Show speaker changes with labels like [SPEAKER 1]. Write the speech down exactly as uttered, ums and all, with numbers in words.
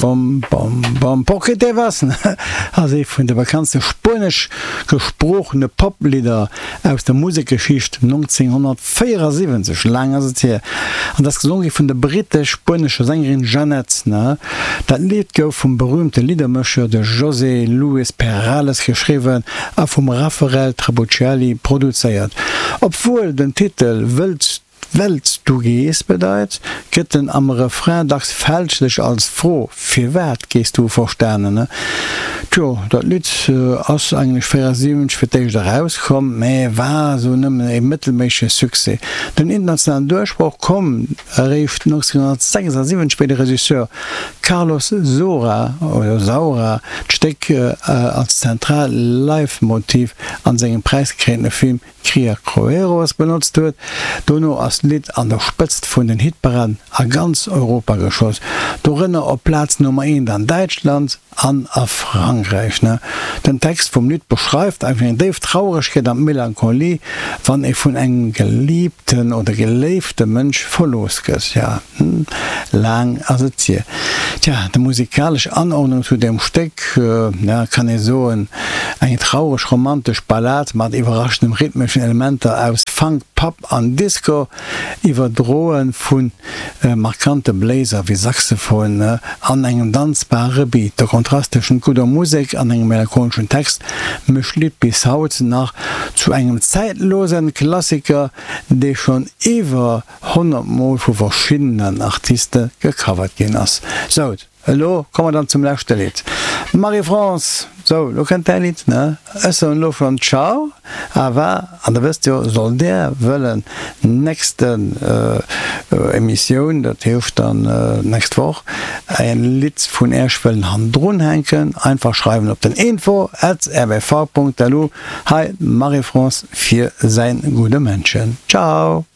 [SPEAKER 1] Bom, bom, bom, Porque te vas ass ee vun de bekanntste spuenesch gesproochene Poplidder aus der Musekgeschicht, nonzénghonnertvéierasiwwenzeg, laang ass et hier, an ass gesonge gi vun der brittesch-spuenescher Sängerin Jeanette. Dat Lidd gouf vum berüümte Liddermécher, de José Luis Perales, geschriwwen a vum Raffaele Trabuchelli produzéiert. Obwuel den Titel Wëlls Wells du gees bedeit, gëtt en am Refrain dacks fälschlech als Fro, Firwat gees du? verstanen. Tjo, dat Lidd ass eigentlech véierasiwwenzeg fir d'éischt erauskomm, mä war esou nëmmen e mëttelméissege Succès. Den internationalen Duerchbroch koum eréischt nonzénghonnertsechsasiwwenzeg, wéi de Regisseur Carlos Saura, oder Saura, d'Stéck als zentraalt Leitmotiv an sengem präisgekréintene Film Criacoeros benotzt huet. Dono ass d'Lidd an der Spëtzt vun den Hitparaden a ganz Europa geschoss, dorënner op Plaz Nummer eent an Däitschland an a Frankräich. Den Text vum Lidd beschreift einfach eng déif Trauregkeet an Melancholie, wann ee vun engem geliibten oder geléifte Mënsch verlooss gëtt. Ja, laang ass et hier. Tja, déi musikalesch Anordnung zu deem Stéck, ja, kann ee soen, eng traureg-romantesch Ballad mat iwwerraschendem rhythmeschen Elementer aus Funk, Pop an Disco, iwwerdroe vu markante Bléiser wéi Saxophon an engem danzbare Beat. De Kontrast tëschent gudder Musek an engem melancholeschen Text mécht d'Lidd bis haut nach zu engem zäitlose Klassiker, dee schonn iwwer honnert Mol vu verschiddenen Artiste gecovert ginn ass. Sou, elo komme mer dann zum leschte Lidd. Marie-France, sou, elo kënnt däi Lidd, ne? Ech soen elo schonn Ciao, awer, an der wësst jo, sollt där wëllen nächsten Emissioun, dat heescht dann nächst Woch, e Lidd vun Äech wëllen hannendrun hänken, einfach schreiwen op den info at rbv punkt lu. Hei d'Marie-France fir säin gudde Mëndchen. Ciao!